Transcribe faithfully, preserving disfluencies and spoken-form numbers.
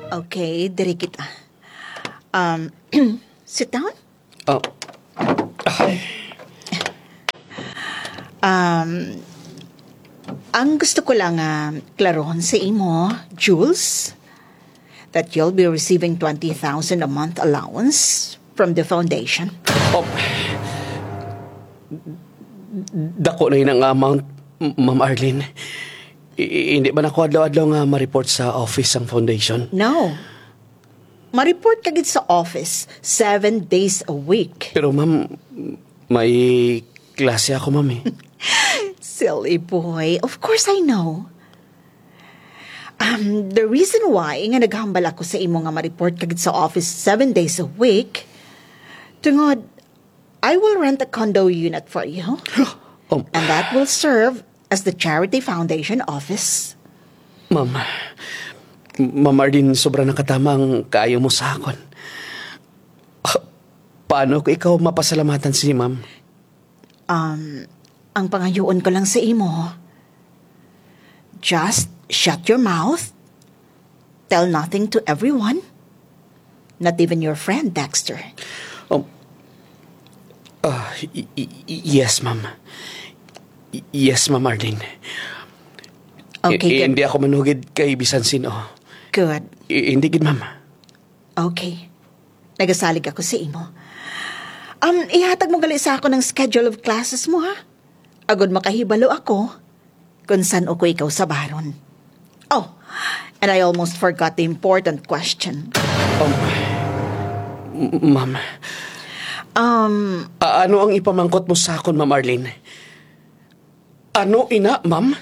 Okay, diri kita. Um, sit down. Oh. Ang gusto ko lang nga klarohon sa imo, Jules, that you'll be receiving twenty thousand a month allowance from the foundation. Oh. Dako na yun ang amount, M- Ma'am Arlene. I- i- hindi man ako adlaw-adlaw nga ma-report sa office ang foundation. No. Ma-report ka gid sa office seven days a week. Pero ma'am, may klase ako, ma'am eh. Silly boy. Of course I know. Um, the reason why nga naghambal ako sa imo nga ma-report ka gid sa office seven days a week, tungod, I will rent a condo unit for you. Oh, And that will serve as the charity foundation office. Ma'am, Ma'am Arlene, sobra na katama ang kaayo mo sa akon. Ah, paano ko ikaw mapasalamatan si ma'am? Um, ang pangayoon ko lang sa imo, just shut your mouth, tell nothing to everyone, not even your friend Dexter. Um, ah, y- y- y- yes, ma'am. Y- yes, Ma'am Arlene. Okay, I- good. Hindi ako manugid kay bisan sino. Good. I- hindi gid, ma'am. Okay. Nagasalig ako sa imo. Um, ihatag mo gali sa akon ang schedule of classes mo, ha? Agud makahibalo ako kung san-o ko ikaw sabaron. Oh, and I almost forgot the important question. Um, m- ma'am, Um, a- ano ang ipamangkot mo sa akon, Ma'am Arlene? Ano ina, ma'am?